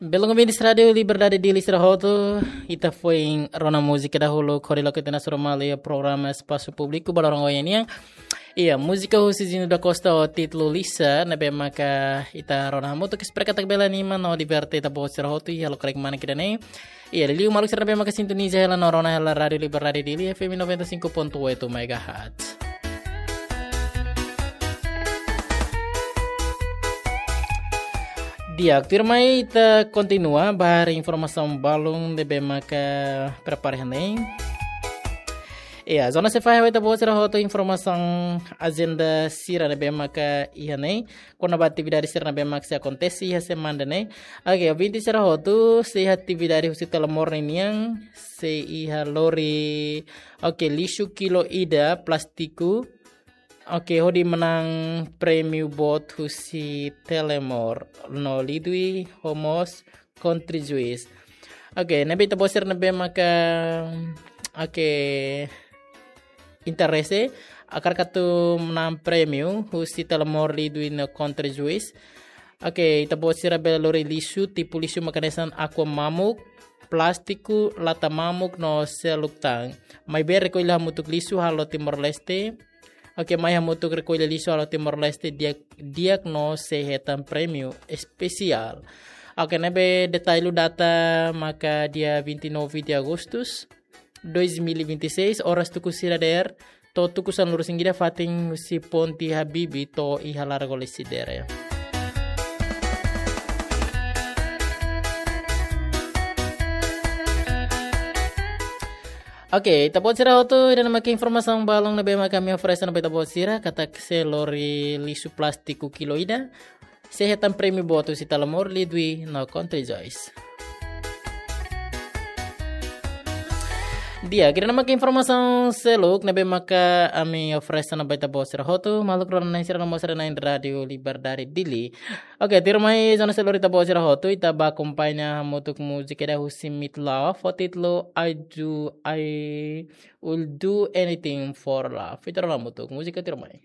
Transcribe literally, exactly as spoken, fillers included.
Belun ouvintes Rádiu Liberdade Dili sira hotu, ita foin rona múzika dahuluk hodi loke tiha ona sura malu iha programa Espasu Públiku ba loron ohin nian. Iha múzika husi Zino da Costa ho títulu Lisa, ne'ebé maka ita rona hamutuk, espera katak bele anima no diverte ita-boot sira hotu iha lokarik manek ida-ne'e. Iha liuliu maluk sira ne'ebé maka sintoniza hela no rona hela Rádiu Liberdade Dili F M noventa e cinco ponto oito megahertz. Di'ak, tuirmai ita kontinua ba haree informasaun balun ne'ebé maka prepara iha ne'e. Iha zona C F A ha'u ita-boot sira hotu informasaun ajenda sira ne'ebé maka iha ne'e. Kona-ba atividade sira ne'ebé maka sei akontese iha semana ne'e. Oke, ouvinte sira hotu, sei iha atividade husi Telemor ninian, sei iha lori, oke, lixu kilo ida plástiku. Oke, hodi manán prémiu boot husi Telemor no Lidui ho mós Country Juice. Oke, ne'ebé ita-boot sira ne'ebé maka, oke, interese, hakarak atu manán prémiu husi Telemor, Lidui no Country Juice. Oke, ita-boot sira bele lori lixu, tipu lixu mak hanesan aqua mamuk, plástiku, lata mamuk no seluk tan. Maibé rekolla hamutuk lixu halo Timor-Leste. Oke, mai hamutuk rekolla lixu halo Timor-Leste di'ak, di'ak no sei hetan prémiu espesiál. Oke, ne'ebé detalle data maka dia vinte e nove de agosto dois mil e vinte e seis, oras tuku sia dadeer to'o tuku sanulu-resin-ida, fatin husi Ponte Habibie to'o iha Largo Lecidere. Oke, ita-boot sira hotu, ida-ne'e maka informasaun balun ne'ebé maka ami oferese ona ba ita-boot sira, katak sei lori lixu plástiku kilo ida, sei hetan prémiu boot husi Telemor, Lidui no Country Juice. Di'ak, ida-ne'e maka informasaun seluk ne'ebé maka ami oferese ona ba ita-boot sira hotu, maluk rona-na'in sira no mós rona-na'in Rádiu Liberdade Dili. Oke, tuirmai zona seluk ita-boot sira hotu, ita bá akompaña hamutuk múzika ida husi Meat Loaf, ho títulu I Do, I Will Do Anything for Love. Ita rona hamutuk múzika tuirmai.